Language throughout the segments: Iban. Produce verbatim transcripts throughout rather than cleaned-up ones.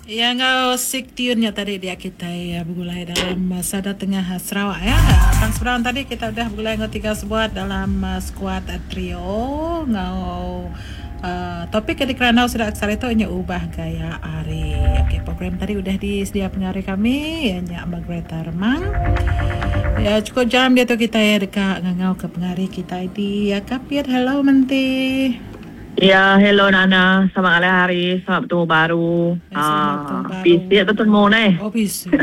Ya ngau sik tune nya tadi dia kita ya begulai dalam uh, Sada Tengah uh, Sarawak ya. Tang seberang tadi kita udah begulai ngau tiga sebuat dalam uh, squad uh, trio ngau uh, topik ke dikerandau sudah aksar itu nya ubah gaya hari. Okey, program tadi udah disedia pengari kami ya nya Margareta Remang. Ya cukup jam dia tu kita ya dekat ngangau ke pengari kita di ya, Kapit. Hello Menti. Ya, hello Nana. Selamat ngalih hari, selamat bertemu baru. Eh, selamat bertemu baru. Bisik bertemu nih. Oh bisik.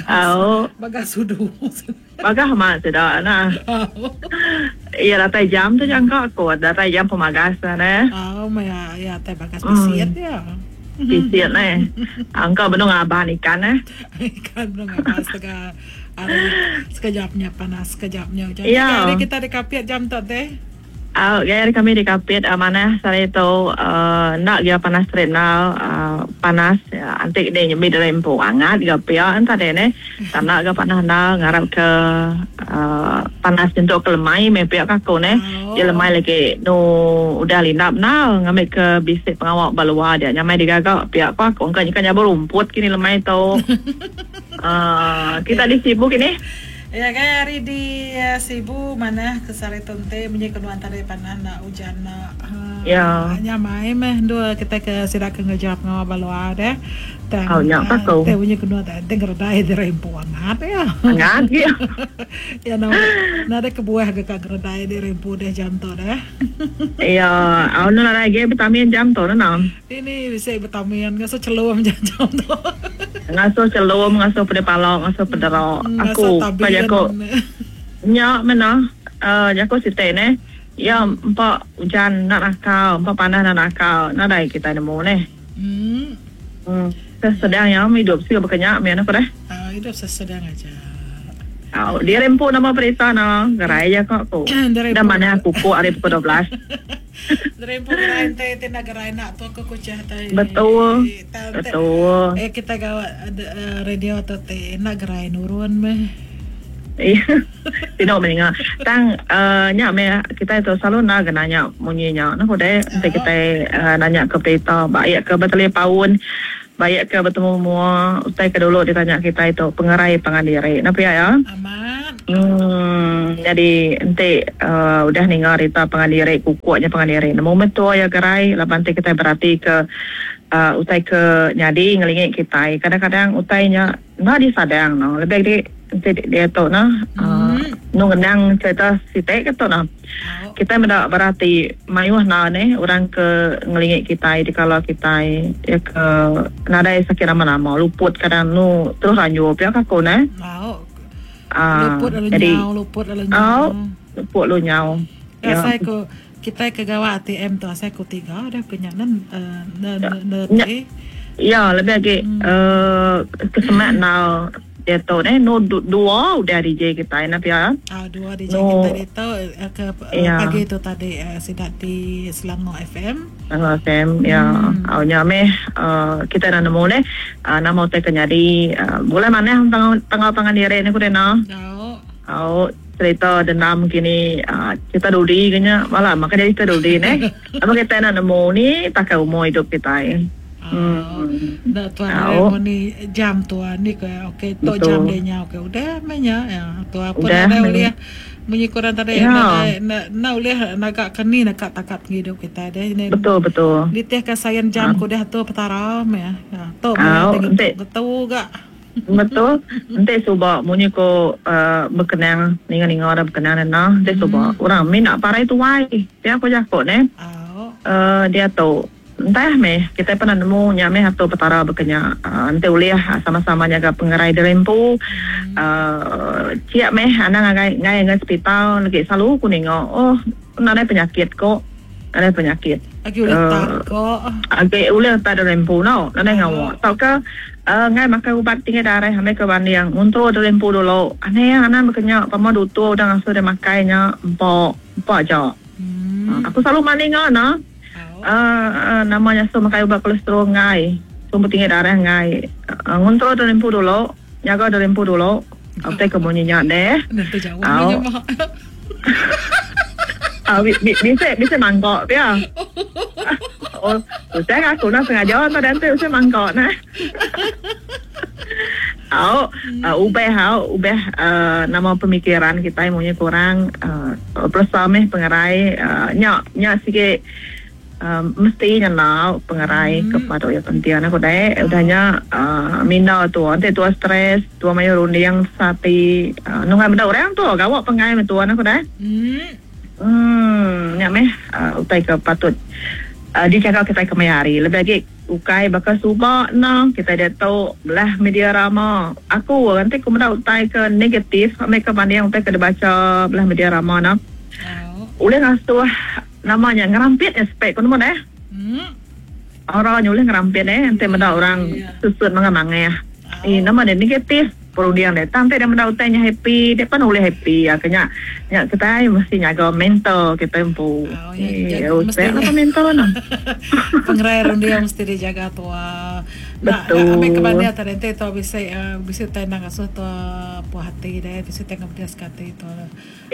Oh, Bagas sudu. Bagah mak sudah nah. Ya datai jam tu jangka aku, datai jam pemagas ne. Oh, ya, ya teh bagas bisiat ya. Bisiat ne. Angka benung aban ikan ne. Ikan benung aban setengah hari sekejapnya panas, sekejapnya hujan. Ya. Hari kita di Kapit jam tu teh. Uh, gaya kami di Kapit uh, mana sehari itu uh, nak dia panas trenal uh, panas ya, antik dia nyemi dari empu angat dia pia entah deh ne tak nak ke panas na ngarap ke uh, panas untuk ke lemai me pia kaku ne Oh. Dia lemai lagi no udah lindap na ngambil ke bisik pengawak balua dia nyamai digagak pia apa aku kan ikan nyabur rumput kini lemai tu uh, kita di Sibu kini. Ya kan hari di uh, Sibu mana kesari tunte menye kedua antara panah nak hujan nak uh, Ya. nyamai meh dua kita ke sidak ke ngejawab ngawa balua deh. Tang Oh, nyak paku. Teh bunyi kedua teh denger dai di rempu angat ya. Angat ya. Ya na na ada kebuah ke kak geredai di rempu deh jam tu deh. Ya, awak nak lagi vitamin jam tu nah. Ini bisa vitamin ngasuh celum jam jam tu. Ngasuh celum, ngasuh pedih palok, ngasuh pederok. Aku Ngasuh pada aku nyak mana uh, jaku site ne. Ya empat hujan nak nakal, empat panas nak nakal. Nadai kita nemu ne. Hmm. Hmm. Sedang ya hidup sih berkenyak me apa deh. Ah, hidup sesedang aja. Oh, dia rempu nama perisa na, gerai ya kok aku. Dari Dan mana aku kok hari pukul dua belas. Dari gerai teh tina gerai nak tu aku kucah teh. Betul. Ta- te- Betul. Eh kita gawa ada, eh, radio tu teh nak gerai nurun meh. Iya. Tidak mendengar. Tang uh, nyak me kita itu selalu nak nanya bunyinya. Nah, udah nanti kita uh, nanya ke berita, baik ke bertelepaun, baik ke bertemu mua, utai ke dulu ditanya kita itu pengerai pangandiri. Napa ya ya? Aman. Hmm, jadi nanti uh, udah ningar rita pangandiri kukuknya pangandiri. Nemu betul ya gerai, laban nanti kita berarti ke uh, utai ke nyadi ngelingit kita. Kadang-kadang utainya nak disadang no. Lebih di nanti dia tu nah uh, nu ngenang cerita sitek ke tu nah. Oh. Kita mendak berarti mayuh na ne orang ke ngelingit kita di kalau kita ya ke nadai sakit lama-lama luput kadang nu terus lanjut pihak aku ne. Mau. Ah, Luput lalu jadi nyau, luput lalu oh, nyau. luput lu nyau. Ya, Ya. saya ku kita ke gawa A T M tu saya ku tiga dah punya nen eh, ne ne ne Ya. teh. Ya, lebih lagi eh kesemat na dia tu ne nu du- dua udah D J kita nak ya. Ah, dua D J No. kita itu eh, ke eh, Ya. pagi itu tadi eh, sidak di Selangor F M. Selangor F M ya. Hmm. Awalnya meh uh, kita dah nemu ne uh, nama utai kenyadi uh, bulan mana tanggal tanggal pangan diri ni ku dena. Jauh. Au cerita dendam kini uh, cerita dudi kenya malah maka jadi cerita dudi ne. Apa kita nak nemu ni pakai umur hidup kita. Eh. Oh, Hmm. dah tuan Tahu. ni jam tuan ni ke okey tu Betul. jam dia nya okey udah menya ya tu apa Udah, dah men. boleh bunyi kurang tadi Ya. na na na boleh nagak keni nak takat hidup kita deh ni Betul betul. Litih kasayan jam ku dah tu petara ya. Ya tu Ah, meh ente. betul gak. Betul. Ente suba munyi ko uh, berkenang ninga-ninga dah berkenang na. Ente suba orang mi nak parai tuai. Dia aku jakok ne. Oh. Uh, dia tu entah meh kita pernah nemu nya meh atau petara berkenya uh, ente uliah sama-sama jaga pengerai derempu uh, ciak meh anak ngai ngai ngai hospital lagi selalu ku nengok oh nadai penyakit kok nadai penyakit Agi ulih Eh, tak kok. Agi ulih tak derempu no nadai ngawak tau ke uh, ngai makan ubat tinggi darah ambil ke banding untuk derempu dulu aneh anak berkenya pama dutu udah ngasuh dia makainya empok empok aja Hmm. aku selalu mandi ngah no Oh. Uh, uh, namanya so makai ubat kolesterol ngai sumber tinggi darah ngai uh, ngontrol derempu dulu jaga derempu dulu apa ke bunyinya deh Nanti jauh Au. ni mak. Ah, bi, bi, bisa bisa mangkok ya. Oh, saya aku nak sengaja tu dan tu saya mangkok nah. Au, uh, ubah au, ubah uh, nama pemikiran kita maunya kurang uh, perasa meh pengerai uh, nyak nyak sikit uh, mesti nyana pengerai hmm. kepada ya penting aku deh udahnya uh, minda tu nanti tua stres tua mayu runding sati uh, nunggu benda orang tu gawak pengai tua aku deh. Hmm. Hmm, nyak meh uh, utai ke patut uh, dicakap kita kemayari lebih lagi ukai bakal subak no kita dia tahu belah media rama aku nanti aku menda utai ke negatif mereka banding utai ke dibaca belah media rama no. Oh. Ulih ngasuh namanya ngerampit aspek kono deh. Hmm. Orang ulih ngerampit eh nanti menda orang yeah. Susut mangang-mangang. Oh. Eh nama dia negatif perundian dia sampai dia menda utainya happy dia pun boleh happy ya kena nya kita mesti nyaga mental kita empu. Oh, ya, eh mesti apa mental no. Pengerai rundia mesti dijaga tua. Betul. Nah, ambil kebandia tadi tu bisa bisa tenang asuh tua puas hati deh bisa tengok dia sekati tu.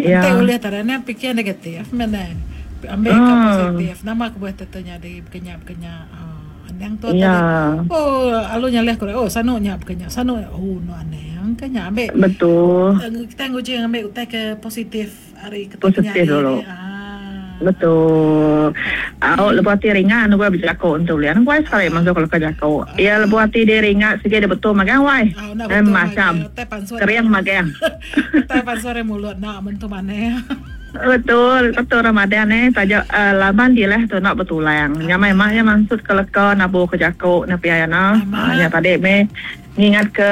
Ya. Nanti boleh tadi ni fikir negatif mana ambil ke positif nama aku buat tentunya di bekenya-bekenya. Yang tu ya. Tadi oh alunya leh kore oh sanunya bekenya sanu oh no aneh yang kenya ambil betul kita nguji ambil utai ke positif hari positif dulu ah. Betul au lepas hati ringan gua berjakok untuk lian gua sekali masuk kalau ke jakok ya lepas hati dia ringan sikit dia betul makan wai eh macam kering makan tai pansore mulut nak bentuk mana. Betul, betul Ramadan eh tajuk uh, laban dia lah tu nak bertulang. Nyamai maknya maksud ke leka nabu ke jakok na piayana. Uh, nya tadi me ngingat ke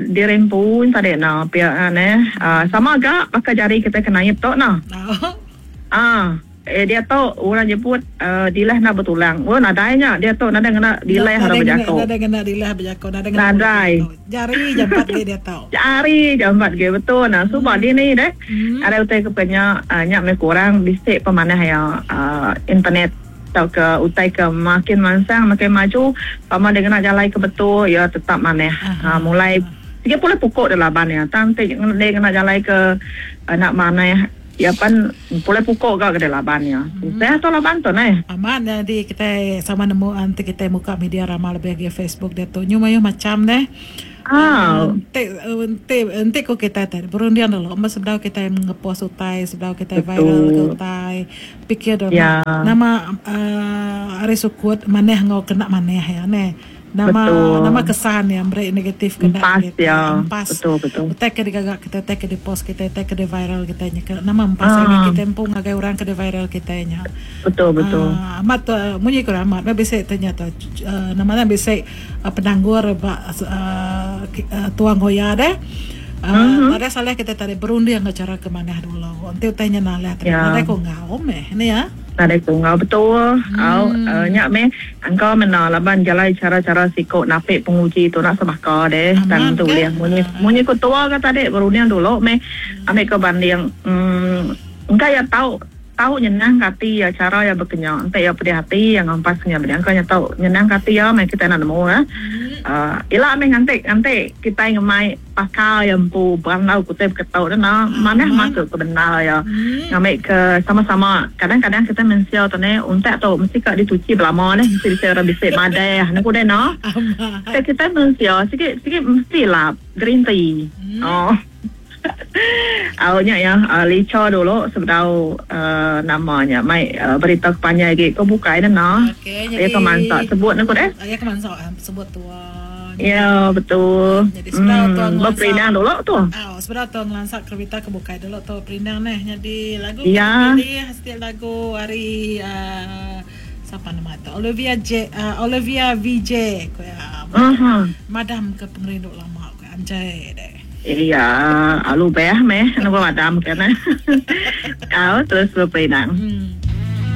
diri pun tadi na pia ne uh, sama agak pakai jari kita kena naib tok nah. Ah, eh dia tu orang jemput uh, dilah nak bertulang. Oh nadainya dia tu nadai kena dilah harus berjakok. Nadai kena dilah berjakok, nadai kena. Nadai. Jari jampat ge dia tahu. Jari jampat ge betul nah. Sebab hmm. dia ni deh. Hmm. Ada utai kepenya uh, nyak me kurang bisik pemanah ya uh, internet atau ke utai ke makin mansang makin maju pama dia kena jalan ke betul ya tetap maneh. Uh, mulai tiga puluh pukul dah laban ya. Tang dia kena jalan ke uh, nak maneh ya pan boleh pukul ke ke laban ya. Hmm. Saya tu laban tu neh. Aman jadi kita sama nemu nanti kita muka media ramah lebih ke Facebook dia tu nyumayu macam deh. Ah, ente ente ente ko kita tadi berundian dulu. Mas sebelum kita ngepost utai, sebelum kita viral ke utai, pikir dulu. Ya. Nama uh, hari sukut maneh ngau kena maneh ya neh. Nama betul. Nama kesan yang beri negatif kena empas kita. Ya. Empas. Betul betul. Utai ke digagak kita, utai ke di post kita, utai ke di viral kita nya. Nama empas ah. Kita empung ngagai orang ke di viral kita nya. Betul betul. Uh, amat uh, munyi kurang amat. Ba bisa tanya tu uh, namanya bisa uh, penanggur ba uh, uh, tuang hoya deh. Uh, mm-hmm. Pada salah kita tadi berunding ke cara ke mana dulu. Nanti utainya nalah tadi. Ya. Ada ko ngau meh ni ya. Ada ko ngau betul. Hmm. Au uh, nyak meh angkau mena laban jalan cara-cara sikok napik penguji tu nak sebaka deh. Tang tu dia munyi munyi ko tua ke tadi berunding dulu meh ambil ke banding. Hmm engkau ya tahu tahu nyenang hati ya cara ya berkenyang. Entah ya pedih hati yang ngampasnya berdang kau tahu nyenang hati ya meh kita nak nemu ah. Uh, ila meh ngantik ngantik kita ngemai pakar yang pu berandau kutip ketau dah nah mana masuk ke benar ya. Ngambil ke sama-sama kadang-kadang kita mensia tu ni untak tu mesti kat dicuci berlama ni mesti bisa orang bisik madai nak kuda no. Kita kita mensia sikit sikit mestilah green tea. Oh. Awalnya ya uh, lica dulu sebelum uh, namanya mai uh, berita kepanjang lagi kau buka dah nah. Okey, jadi ke mansak sebut nak deh. Ya ke mansak sebut tua. Ya betul. Jadi sebelum hmm, tuan berperindang dulu tu. Oh, sebelum tuan ngelansak kereta ke buka dulu tu perindang neh. Jadi lagu ya. Pilih setiap lagu hari uh, siapa nama tu? Olivia J uh, Olivia V J ko ya. Uh-huh. Madam ke pengerindu lama ko anjay deh. Iya, alu beh meh, nak madam kan. Kau terus berperindang. Hmm.